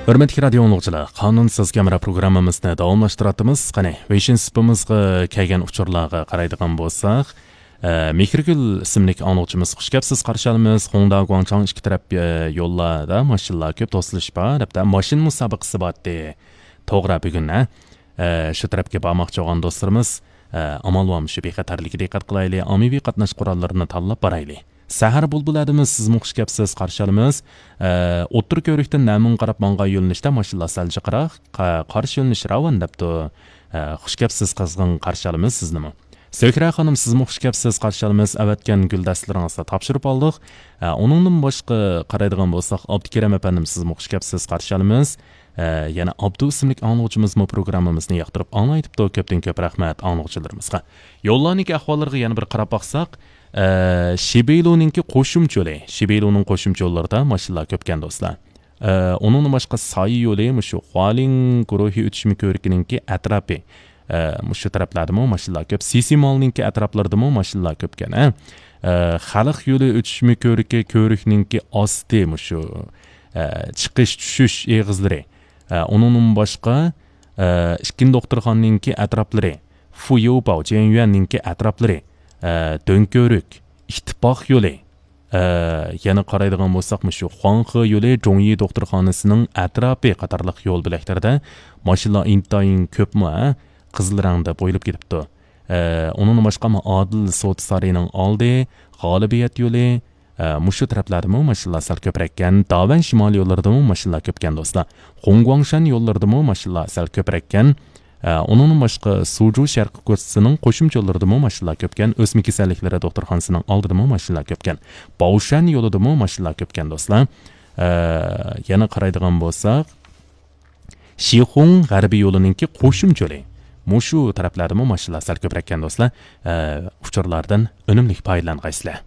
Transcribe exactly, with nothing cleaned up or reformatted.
ھۆرمەتلىك رادىيو ئاڭلىغۇچىلار، قانۇنسىز كامېرا پروگراممىمىزنى داۋاملاشتۇراتتىمىز. قېنى، ۋېيشىن سۇپىمىزغا كەلگەن ئۇچۇرلارغا قارايدىغان بولساق، ئە، مېھرىگۈل ئىسىملىك ئاڭلىغۇچىمىز، «خۇش كەپسىز، قارشى ئالىمىز. خۇڭدا، گۇاڭچاڭ ئىككى تەرەپ، ئە، يوللاردا ماشىنىلار كۆپ، توسۇلۇش بار» دەپتۇ. ماشىنا مۇسابىقىسى بارتى. توغرا، بۈگۈن، ھە؟ ئە، شۇ تەرەپكە بارماقچى بولغان دوستلىرىمىز، ئە، ئامال بار مۇشۇ بىخەتەرلىككە دىققەت قىلايلى، ئاممىۋى قاتناش قوراللىرىنى تاللاپ بارايلى. سەھەر بۇلبۇلى ئادىمىز، سىزمۇ خۇش كەپسىز، قارشى ئالىمىز. ئە، ئوتتۇرا كۆۋرۈكتىن نەمىڭگە قاراپ ماڭغان يۆنىلىشتە ماشىنىلار سەل جىقراق، قا-، قارشى يۆنىلىش راۋان دەپتۇ. ئە، خۇش كەپسىز، قىزغىن قارشى ئالىمىز سىزنىمۇ. سۆھرە خانىم، سىزمۇ خۇش كەپسىز، قارشى ئالىمىز. ئەۋەتكەن گۈلدەستىلىرىڭىزنى تاپشۇرۇپ ئالدۇق. ئە، ئۇنىڭدىن باشقا قارايدىغان بولساق، ئابدۇكېرەم ئەپەندىم، سىزمۇ خۇش كەپسىز، قارشى ئالىمىز. ئە، يەنە ئابدۇ ئىسىملىك ئاڭلىغۇچىمىزمۇ پروگراممىمىزنى ياقتۇرۇپ ئاڭلايتىپتۇ. كۆپتىن كۆپ رەھمەت ئاڭلىغۇچىلىرىمىزغا. يوللارنىڭكى ئەھۋاللىرىغا يەنە بىر قاراپ باقساق، ئە، شىبېيلۇنىڭكى قوشۇمچە يولى، شىبېيلۇنىڭ قوشۇمچە يوللىرىدا ماشىنىلار كۆپكەن دوستلار. ئە، ئۇنىڭدىن باشقا سايە يولى، مۇشۇ خۇالىڭ گۇرۇھى ئۆتۈشمە كۆۋرۈكىنىڭكى ئەتراپى، ئە، مۇشۇ تەرەپلەردىمۇ ماشىنىلار كۆپ. سىسىمالنىڭكى ئەتراپلىرىدىمۇ ماشىنىلار كۆپكەن، ھە. ئە، خەلق يولى ئۆتۈشمە كۆۋرۈكى، كۆۋرۈكنىڭكى ئاستى مۇشۇ، ئە، چىقىش، چۈشۈش ئېغىزلىرى. ئە، ئۇنىڭدىن باشقا، ئە، ئىككىنچى دوختۇرخانىنىڭكى ئەتراپلىرى، فۇيۇباۋ، جيەنيۈەننىڭكى ئەتراپلىرى، ئە، دۆڭكۆۋرۈك، ئىتتىپاق يولى، ئە، يەنە قارايدىغان بولساق، مۇشۇ خۇاڭخې يولى، جۇڭيى دوختۇرخانىسىنىڭ ئەتراپى قاتارلىق يول بۆلەكلىرىدە ماشىنىلار ئىنتايىن كۆپمۇ، ھە، قىزىل رەڭدە بويىلىپ كېتىپتۇ. ئە، ئۇنىڭدىن باشقا، ئادىل سودا سارىيىنىڭ ئالدى، غالىبىيەت يولى، ئە، مۇشۇ تەرەپلەردىمۇ ماشىنىلار سەل كۆپرەككەن. داۋەن شىمالىي يوللىرىدىمۇ ماشىنىلار كۆپكەن، دوستلار. خۇڭگۇاڭشەن يوللىرىدىمۇ ماشىنىلار سەل كۆپرەككەن. ئە، ئۇنىڭدىن باشقا، سۇجۇ شەرقىي كوچىسىنىڭ قوشۇمچە يوللىرىدىمۇ ماشىنىلار كۆپكەن. ئۆسمە كېسەللىكلىرى دوختۇرخانىسىنىڭ ئالدىدىمۇ ماشىنىلار كۆپكەن. باۋشەن يولىدىمۇ ماشىنىلار كۆپكەن، دوستلار. ئە، يەنە قارايدىغان بولساق، شىخۇڭ غەربىي يولىنىڭكى قوشۇمچە يولى. مۇشۇ تەرەپلەردىمۇ ماشىنىلار سەل كۆپرەككەن، دوستلار. ئە، ئۇچۇرلاردىن ئۈنۈملۈك پايدىلانغايسىلەر.